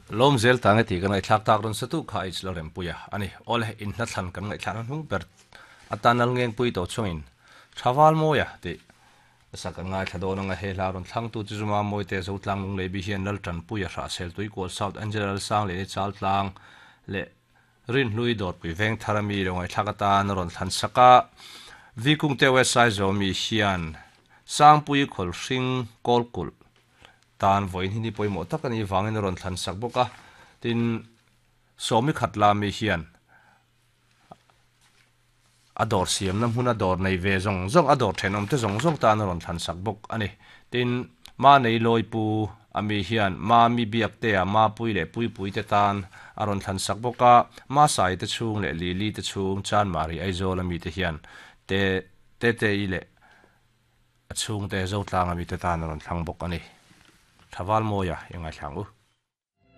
Lawm zel ta nge tih ka ngaihthlak tak rawn sa tu kha H Lalrempuia a ni. Awle, in hla thlan kan ngaihthlakna hnung ber atan Lalngengpui tawh chungin Thaval Mawia tih sak kan ngaithla dawn anga he hla rawn thlangtu chu Zuma Mawite Zotlang Lungleibi hian Laltanpuia Hrahsel Tuikual South Angela Lalsang leh Chaltlang leh Rinhlui Dawrpui Vengthar ami lo ngaihthlak atan a rawn thlan sak a. Vikungte West Saizawh mi hian Sangpui Khawlhring Kawlkulh tan vawiin hi ni pawimawh tak a nih vangin a rawn thlan sak bawk a. Tin, Sawmi Khatla mi hian a dawr siamna hmuna dawr nei ve zawng zawng, a dawr thenawmte zawng zawng tan a rawn thlan sak bawk a ni. Tin, Manei Lawipu a mi hian Mami Biaktea Mapui leh Puipuite tan a rawn thlan sak bawk a, Masai te chhung leh Lili te chhung Chanmari Aizawl a mite hian Te Tetei leh a chhungte Zotlang a mite tan a rawn thlang bawk a ni. Thavalmawia i ngaithla ang u.